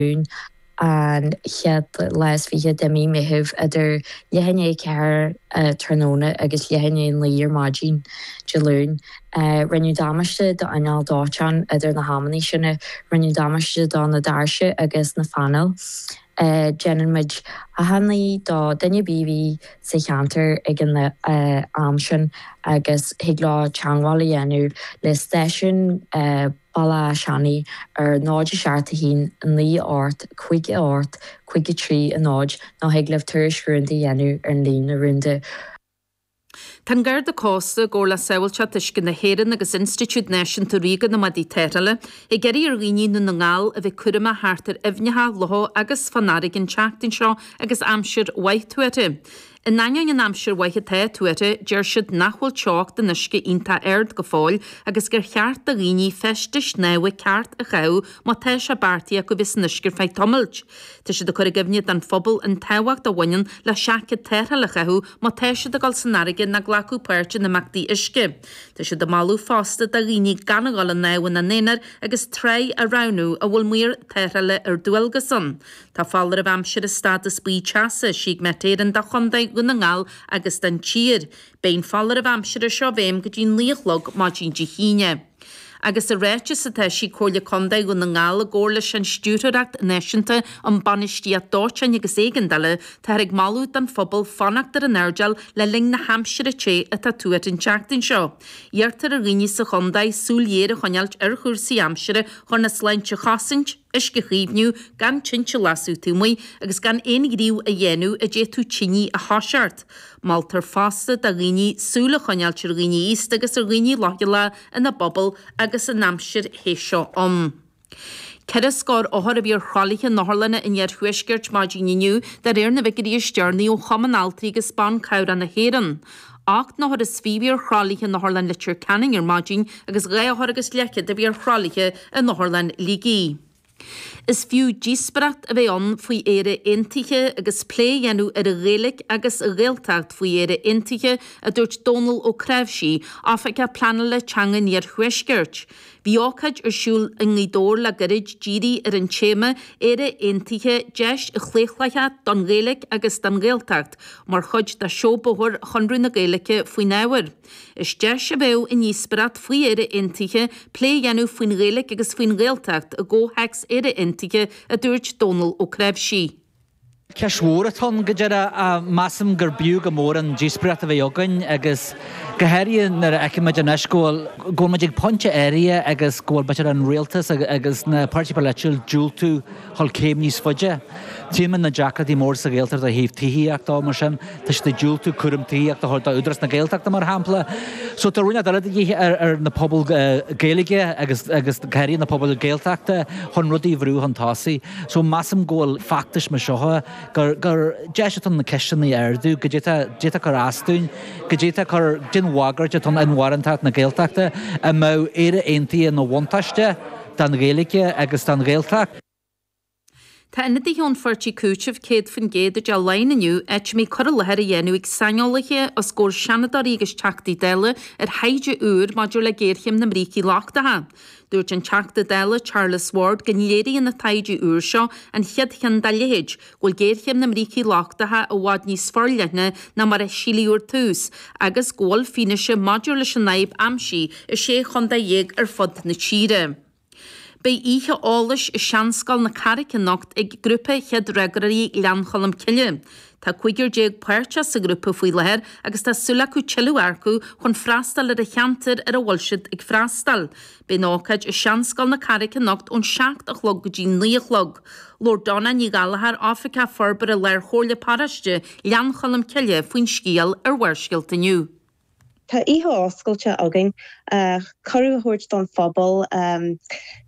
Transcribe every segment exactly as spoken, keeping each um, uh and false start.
Luain an chéad lá is fiche de mí Meitheamh idir leath i ndiaidh a ceathair tráthnóna agus leath i ndiaidh a naoi ar maidin Dé Luain. Rinneadh damáiste d'inneall dóiteáin idir na hamanna sin, rinneadh damáiste do na doirse agus na phainéil. Déanann muid achainí do duine ar bith a bhí sa cheantar ag an am sin agus thig leo teagmháil a dhéanamh le stáisiún Bhaile Átha Seanaidh ar náid a seacht a haon naoi ocht cúig a ocht cúig a trí a náid nó thig libh tuairisc rúnda a dhéanamh ar an líne rúnda. Tá an Garda Cósta, i gcomhar le Sábháilteacht Uisce na hÉireann agus Institiúid Náisiúnta Ríoga na Maidí Tarrthála, ag iarraidh ar dhaoine i nDún na nGall a bheith cúramach thart ar aibhneacha, locha agus fán fharraige an tseachtain seo agus aimsir mhaith tuartha. In ainneoin an aimsir mhaith atá tuartha, deir siad nach bhfuil teocht an uisce iontach ard go fóill agus gur cheart do dhaoine feistis shnámha ceart a chaitheamh má tá sé beartaithe acu bheith san uisce ar feadh tamaill. Tá siad ag cur i gcuimhne don phobal an tábhacht a bhaineann le seaicéad tarrthála a chaitheamh má tá siad ag dul san fharraige nó glacadh páirt in imeachtaí uisce. Tá siad ag moladh fosta do dhaoine gan a dhul ag snámh ina n-aonar agus tráigh a roghnú a bhfuil maor tarrthála ar dualgas ann. Tá foláireamh aimsire stádas buí teasa eisithe ag Met Éireann do Chontae Dhún na nGall agus don tír. Beidh an foláireamh aimsire seo i bhfeidhm go dtí naoi a chlog maidin Dé hAoine. Agus i ráiteas a d'eisigh Comhairle Contae Dhún na nGall i gcomhar leis an Stiúrthóireacht Náisiúnta um Bainistíocht Dóiteáin agus Éigeandála, táthar ag moladh don phobal fanacht ar an airdeall le linn na haimsire te atá tuartha an tseachtain seo. Iarrtar ar dhaoine sa chontae súil ghéar a choinneáilt ar chúrsaí aimsire chun a sláinte a chosaint, uisce a chaomhnú, gan tinte a lasadh taobh amuigh agus gan aon ghníomh a dhéanamh a d'fhéadfadh tine a thoiseacht. Moltar fosta do dhaoine súil a choinneáilt ar dhaoine aosta agus ar dhaoine leochaileacha ina bpobal agus an aimsir the seo ann. Ceithre scór othar a bhí ar thralaithe in otharlanna an iarthuaiscirt maidin inniu de réir na bhfigiúirí is deireanaí ó Chumann Altraí agus Ban Cabhrach na hÉireann. Ocht n-othar is fiche a bhí ar thralaithe in Otharlann Leitir Ceanainn ar maidin agus dhá othar agus leathchéad a bhí ar thralaithe in Otharlann Shligigh. Is fiú díospóireacht a bheith ann faoi Éire Aontaithe agus plé a dhéanamh ar an Ghaeilge agus an Ghaeltacht faoi Éire Aontaithe, a dúirt Dónal Ó Cnáimhsí, Oifigeach Pleanála Teanga an Iarthuaiscirt. Bhí ócáid ar siúl i nGaoth Dobhair le gairid dírithe ar an téama Éire Aontaithe, Deis Chlaochlaitheach don Ghaeilge agus don Ghaeltacht, mar chuid de Seó Bóthair Chonradh na Gaeilge faoin ábhar. Is deis a bheadh i ndíospóireacht faoi Éire Aontaithe plé a dhéanamh faoin Ghaeilge agus faoin Ghaeltacht i gcomhthéacs Éire Aontaithe, a dúirt Dónal Ó Cnáimhsí. Ceist mhór atá ann go deireadh. Measaim gur b'fhiú go mór an díospóireacht a bheith againn agus go háirithe nuair a fheicimid anois go bhfuil go bhfuil muid ag pointe áirithe agus go bhfuil b'fhéidir an rialtas agus na páirtithe polaitiúil diúltú dhul céim níos faide. Tchímid na deacrachtaí móra sa Ghaeltacht ó thaobh tithíochta mar sin, tá siad ag diúltú cúram tithíochta a thabhairt do Údarás na Gaeltachta mar shampla. So tá roinnt eile de dhíth ar ar na pobail Gaeilge agus agus go háirithe na pobail Gaeltachta chun rudaí a bhrú chun tosaigh. So measaim go bhfuil feachtais mar seo gur gur deis atá ann na ceisteanna a ardú, goidé atá goidé atá cur as dúinn, goidé atá cur den bhagairt atá ann inmharthanacht na Gaeltachta, an mbeadh Éire Aontaithe ina bhuntáiste don Ghaeilge agus don Ghaeltacht. Tá ionadaithe ón pháirtí Cúiteamh céad faoin gcéad i dTeach Laighean inniu, áit a mbeidh cur i láthair á dhéanamh ag saineolaithe os comhair seanadóirí agus Teachtaí Dála ar thaighde úr maidir le géarchéim na mbrící lochtacha. Dúirt an Teachta Dála Charles Ward go léiríonn an taighde úr seo, an chéad cheann dá leithéid, go bhfuil géarchéim na mbrící lochtacha i bhfad níos forleithne ná mar a síleadh ar tús agus go bhfuil fianaise maidir leis an fhadhb aimsithe i sé chontae dhéag ar fud na tíre. Beidh oíche eolais i Seanscoil na Carraice anocht ag Grúpa Chéad Fhreagróirí Ghleann Cholm Cille. Tá cúigear déag páirteach sa ghrúpa faoi láthair agus tá súil acu tuilleadh a earcú chun freastal ar an cheantar ar a bhfuil siad ag freastal. Beidh an ócáid i Seanscoil na Carraice anocht ón seacht a chlog go dtí naoi a chlog. Labhair Donna Ní Ghallchóir, Oifigeach Forbartha Lár-Chomhairle Paróiste Ghleann Cholm Cille faoin scéal ar Bharrscéalta inniu. Tá oíche oscailte againn, cuireadh a thabhairt don phobal,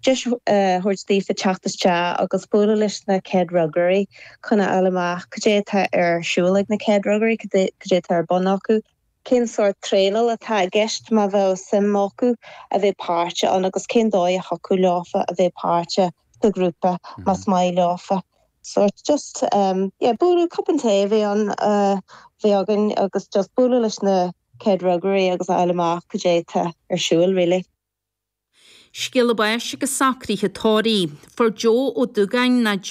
deis a thabhairt daofa teacht isteach agus bualadh leis na céad fhreagróirí chun a fháil amach cad é atá ar siúl ag na céad fhreagróirí, cad é atá ar bun acu, cén sórt traenáil atá i gceist má bheadh suim acu a bheith páirteach ann agus cén dóigh a thiocfadh leofa a bheith páirteach sa ghrúpa más maith leofa. Sórt just yeah bualadh cupán tae a bheith ann a bheith againn agus just bualadh leis na céad fhreagróirí agus a fháil amach cad é atá ar siúl really. Scéala báis agus socruithe tórraimh. Fuair Joe Ó Dúgáin ná